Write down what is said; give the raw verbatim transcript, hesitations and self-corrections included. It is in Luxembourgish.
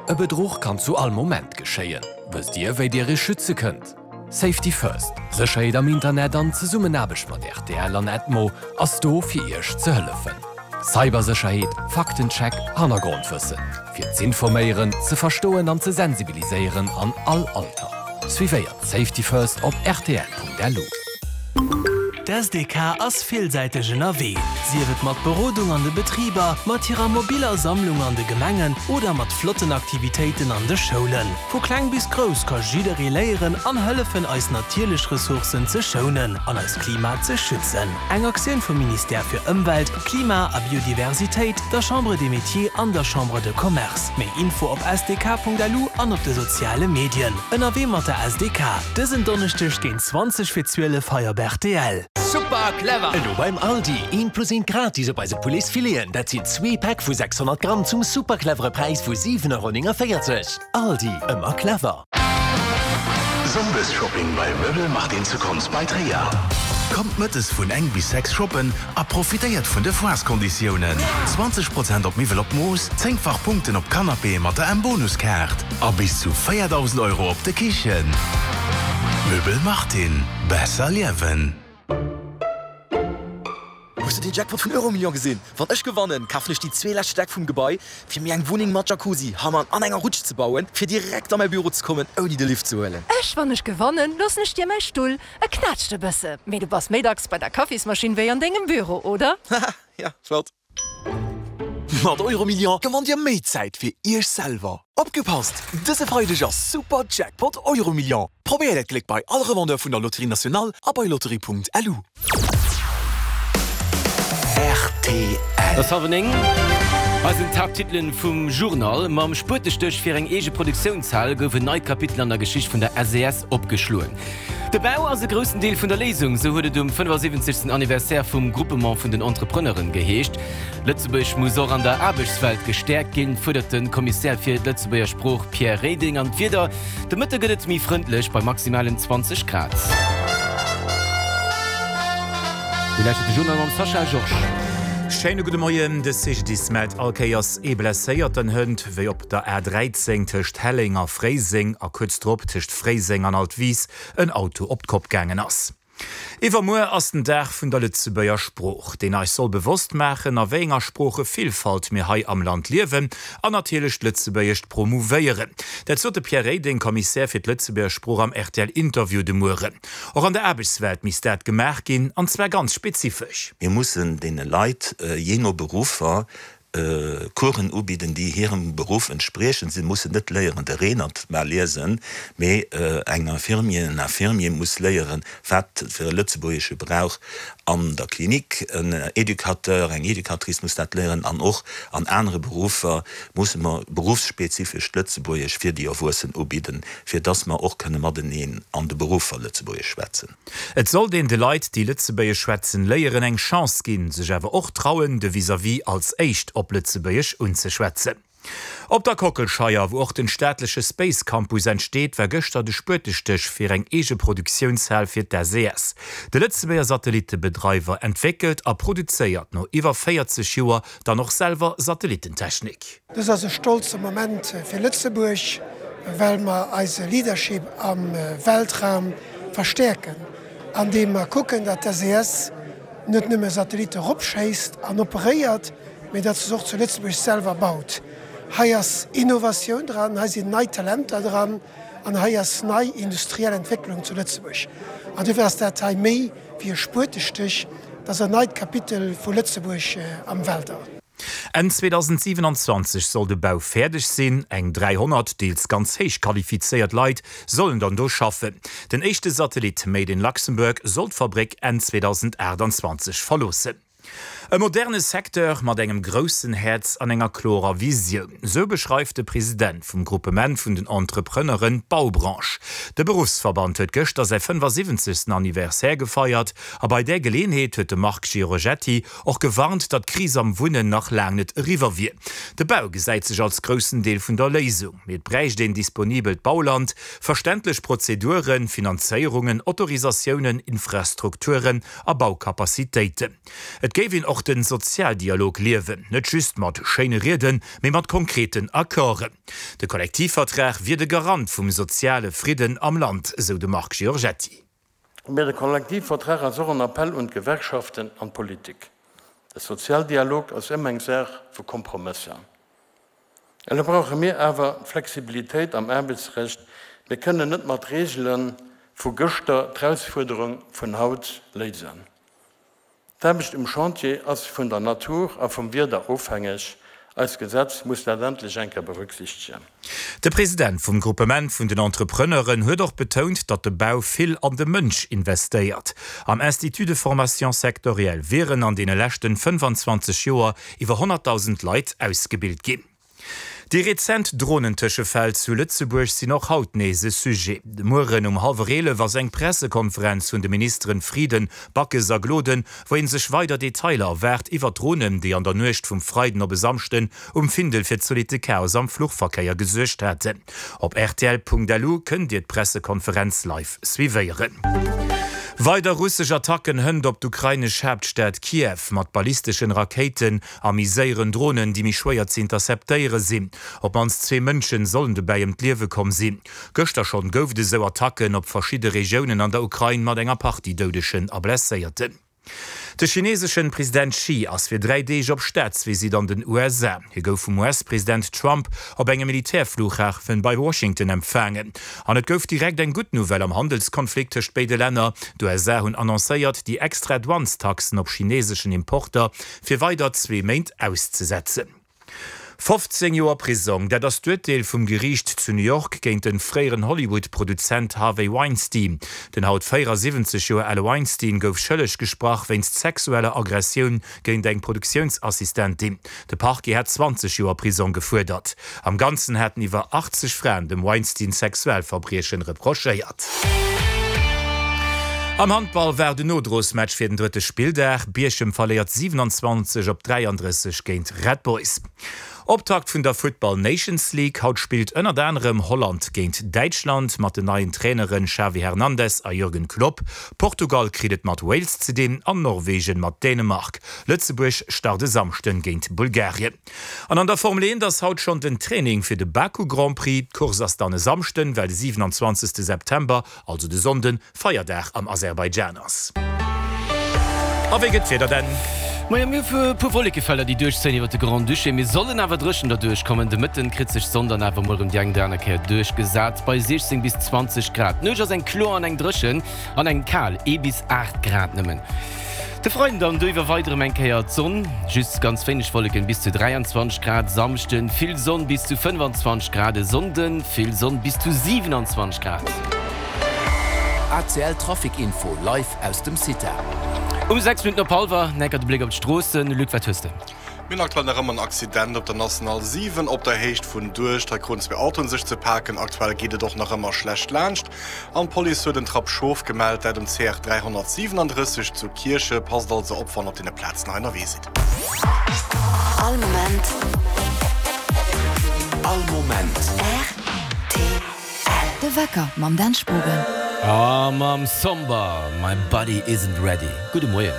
E Bedruch kann zu all Moment geschéien. Wësst Dir, wéi Dir Iech schütze kënnt? Safety First, Sécherheet am Internet an Zesummenaarbecht mat R T L an Edmo ass do fir Iech ze hëllefen. Cybersécherheet, Faktencheck, Hannergrondwëssen. Fir z'informéieren, ze verstoen an ze sensibiliséieren an all Alter. Suivéiert Safety First op R T L Punkt L U. D S D K ass villsäiteg ënnerwee. Sief et mat Berodung an de Betriber, mat hirer mobiller Sammlung an de Gemengen oder mat flotten Aktivitéiten an de Schoulen. Vu kleng bis grouss ka jidderee léieren an hëllefen eis natierlech Ressourcen ze schounen an eist Klima ze schützen. Eng Aktioun vum Ministère fir Ëmwelt, Klima a Biodiversitéit, der Chambre des Métiers an der Chambre de Commerce. Méi Info op S D K Punkt L U an op de soziale Medien. Ënnerwee mat der S D K. Dësen Donneschdeg géint zwanzeg vir zwielef hei op R T L. Super clever! Elo beim Aldi, een plus een gratis op eise Pouletsfileten. Dat sinn zwee Päck vu sechshonnert Gramm zum super clevere Präis vu siwen Euro néngenvéierzeg. Aldi, ëmmer clever. Sonndesshopping bei Möbel Martin zu Konz bei Tréier. Kommt mëttes vun eng bis sechs shoppen a profitéiert vun de Foireskonditiounen. zwanzeg Prozent op Miwwel op Mooss, zéngfach Punkten op Canapé mat der M-Bonuskaart a bis zu véierdausend Euro op de Kichen. Möbel Martin, besser liewen. Hues du den Jackpot vun Euromillion gesinn? Wann ech gewannen, kafen ech déi zwee lescht Stäck vum Gebai, fir mir eng Wunneng mat Jacuzzi, Hammam an enger Rutsch ze bauen, fir direkt a mäi Büro ze kommen, ouni de Lift ze huelen. Ech, wann ech gewannen, loossen ech dir mäi Stull. E knätscht e bësse. Mee du bass méi dacks bei der Kaffismaschinn wéi an dengem Büro, oder? Ja, flott. Mat Euromillion gewannt Dir méi Zäit fir Iech selwer. Opgepasst! Dëse Freideg ass Super Jackpot Euromillion. Probéiert Äert Gléck bei all Revendeur vun der Loterie Nationale a bei lotterie Punkt L U. R T L. Et ass hallwer néng. Hei sinn d'Haapttitelen vum Journal. Mam Spuetestéch fir eng eege Produktiounshal gouf en neit Kapitel an der Geschicht vun der S E S opgeschloen. De Bau ass e groussen Deel vun der Léisung, sou huet et um fënnefasiwwenzegsten Anniversaire vum Groupement vun den Entrepreneuren geheescht. Lëtzebuerg muss och an der Aarbechtswelt gestäerkt ginn, fuerdert de Kommissär fir d'Lëtzebuerger Sprooch Pierre Reding. An d'Wieder, de Mëtte gëtt et méi frëndlech bei maximalen zwanzeg Grad. Dir lauschtert de Journal mam Sascha Georges. Schéine gudde Moien, de C G D I S mellt all Kéiers ee Blesséierten hënt, wéi op der A dräizéng tëscht Helleng a Fréiseng a kuerz drop tëscht Fréiseng an Altwis en Auto op d'Kopp gaangen ass. Iwwermuer ass den Dag vun der Lëtzebuerger Sprooch, deen eis soll bewosst maachen, a wéi enger Sproochevillfalt mir hei am Land liewen an natierlech d'Lëtzebuergescht promouvéieren. Dat sot de Pierre Reding, Kommissär fir d'Lëtzebuerger Sprooch am R T L-Interview de Mueren. Och an der Aarbechtswelt misst dat gemaach ginn, an zwar ganz spezifesch. Mir mussen deene Leit jee no Beruffer Coursen ubidden, déi hirem Beruff entspriechen. Si mussen net léieren de Renert mar liesen, mee eng Infirmier, en Infirmier muss léieren, wat fir e Lëtzebuergesche brauch an der Klinik. En Educateur, eng Educatrice muss dat léieren an och an anere Beruffer musse mer beruffsspezifescht Lëtzebuergesch fir déi Erwuessen ubidden, fir dass mer och kënne mateneen an de Beruffer Lëtzebuergesch schwätzen. Et sollt een de Leit, déi Lëtzebuergesch schwätzen, léieren eng Chance ginn, sech awer och trauen, de Vis-à-vis als éischt op Lëtzebuergesch unzeschwätzen. Op der Kockelscheier, wou och den staatleche Space Campus entsteet, war gëschter de Spuetestéch fir eng eege Produktiounshal fir d'S E S. De Lëtzebuerger Satellitebedreiwer entwéckelt a produzéiert no iwwer véierzeg Joer dann och selwer Satellitentechnik. Dëst ass e stolze Moment fir Lëtzebuerg, well mer eise Leadership am Weltraum verstäerken, andeem mer kucken, datt d'S E S net nëmme Satellitte eropschéisst an operéiert, mee datt se och zu Lëtzebuerg selwer baut. Hei ass Innovatioun dran, hei sinn nei Talenter dran an hei ass nei industriell Entwécklung zu Lëtzebuerg. An dofir ass dat hei méi wéi e Spuetestéch, dat ass en neit Kapitel vu Lëtzebuerg am Weltall. Enn zweedausendsiewenanzwanzeg soll de Bau fäerdeg sinn, eng dräihonnert deels ganz héich qualifizéiert Leit sollen dann do schaffen. Den éischte Satellit Made in Luxembourg soll d'Fabréck Enn zweedausendaachtanzwanzeg verloossen. E moderne Secteur mat engem groussen Häerz an enger klorer Visioun. Sou beschreift de President vum Groupement vun den Entrepreneuren d'Baubranche. De Beruffsverband huet gëschter säi fënnefasiwwenzegsten Anniversaire gefeiert a bei där Geleeënheet huet de Marc Giorgetti och gewarnt, datt d'Kris am Wunnen nach laang net eriwwer wier. De Bau gesäit sech als groussen Deel vun der Léisung. Mee et bräicht een disponibelt Bauland, verständlech Prozeduren, Finanzéierungen, Autorisatiounen, Infrastrukturen a Baukapazitéiten. Et géif een och och den Sozialdialog liewen, net just mat schéine Rieden, mee mat konkreten Accorden. De Kollektivvertrag wier de Garant vum soziale Fridden am Land, sou de Marc Giorgetti. Mee de Kollektivvertrag ass och en Appell un d'Gewerkschaften an d'Politik. De Sozialdialog ass ëmmer eng Saach vu Kompromësser. Elo brauche mir awer Flexibilitéit am Aarbechtsrecht. Mir kënnen net mat Reegele vu gëschter d'Erausfuerderung vun haut léisen. D'Aarbecht um Chantier ass vun der Natur a vum Wieder ofhängeg. Eist Gesetz muss dat endlech eng Kéier berücksichtegen. De President vum Gruppement vun den Entrepreneuren huet och betount, datt de Bau vill an de Mënsch investéiert. Am Institut de formation sectorielle wieren an deene leschten fënnefanzwanzeg Joer iwwer honnertdausend Leit ausgebilt ginn. Déi rezent Dronentëschefäll zu Lëtzebuerg sinn och haut nees e Sujet. De Mueren um hallwer eelef ass eng Pressekonferenz vun de Ministeren Frieden, Backes a Gloden, wou ee sech weider Detailer erwaart iwwer d'Dronen, déi an der Nuecht vum Freiden op e Samschden um Findel fir zolitte Chaos am Fluchverkéier gesuergt haten. Op rtl.lu kënnt Dir d'Pressekonferenz live suivéieren. Weider russesch Attacken hënt op d'ukrainesch Haaptstad Kiew mat ballisteschen Rakéiten a méi séieren Dronen, déi méi schwéier ze interceptéiere sinn. Op d'mannst zwee Mënschen sollen dobäi ëm d'Liewe komm sinn. Gëschter schonn gouf et esou Attacken op verschidde Regiounen an der Ukrain mat enger Partie Doudegen a Blesséierten. De chineeseschen President Xi ass fir dräi Deeg op Staatsvisitt an den U S A. Hie gouf vum U S-President Trump op engem Militärflughafen bei Washington empfaangen. An et gouf direkt eng gutt Nouvelle am Handelskonflikt tëscht béide Länner, D'U S A hunn annoncéiert, déi extra Douanestaxen op chineeseschen Importer fir weider zwee Méint auszesetzen. Fofzéng Joer Prisong, dat ass d'Urteel vum Geriicht zu New York géint de fréieren Hollywood-Produzent Harvey Weinstein. Den haut véierasiwwenzeg Joer ale Weinstein gouf schëlleg gesprach wéinst sexueller Aggressioun géint eng Produktiounsassistentin. De Parquet hat zwanzeg Joer Prisong gefuerdert. Am Ganzen haten iwwer achtzeg Fraen dem Weinstein Sexualverbriechen reprochéiert. Am Handball war den Nodrosmatch fir den drëtte Spilldag. Bierchem verléiert siewenundzwanzeg op dräiandrësseg géint Red Boys. Optakt vun der Football Nations League. Haut spillt ënnert anerem Holland géint Däitschland mat den neien Traineren Xavi Hernandez a Jürgen Klopp. Portugal kritt et mat Wales ze dinn an Norwegen mat Dänemark. Lëtzebuerg start e Samschden géint Bulgarien. An an der Formel eent ass haut schonn den Training fir de Baku Grand Prix. D'Course ass dann e Samschden, well de siewenundzwanzegste September, also de Sonnden, Feierdag am Aserbaidschan ass. A wéi gëtt d'Wieder denn? Moien, mir hu e puer Wollekefelder, déi duerchzéien iwwert de Grand-Duché. Mir sollen awer dréchen derduerch kommen. De Mëtten kritt sech d'Sonn dann awer mol erëm déi eng oder aner Kéier duerchgesat bei siechzéng bis zwanzeg Grad. D'Nuecht ass eng kloer an eng dréchen an eng kal, ee bis aacht Grad nëmmen. De Freiden dann do iwwer weider erëm eng Kéier d'Sonn, just ganz wéineg Wolleken, bis zu dräianzwanzeg Grad. Samschden vill Sonn bis zu fënnefanzwanzeg Grad, e Sonnden vill Sonn bis zu siewenanzwanzeg Grad. A C L Trafic Info live aus dem CITA. Um sechs Minutten op hallwer necker de Bléck op d'Stroossen. Luc, wat hues de? Mir hunn aktuell nach ëmmer en Accident op der National siwen op der Héicht vun Duerscht. Hei kruten zwee Autoen sech ze paken. Aktuell geet et och nach ëmmer schlecht laanscht. An d'Police huet en Trapp Schof gemellt, dat um C R dräihonnertsiwenandrësseg zu Kierche. Passt also op, wann op deene Plazen hei ënnerwee sidd. All Moment. All Moment. R T L. De Wecker mam Dan Spogen. A mam Somber, My Body Isn't Ready. Gudde Moien.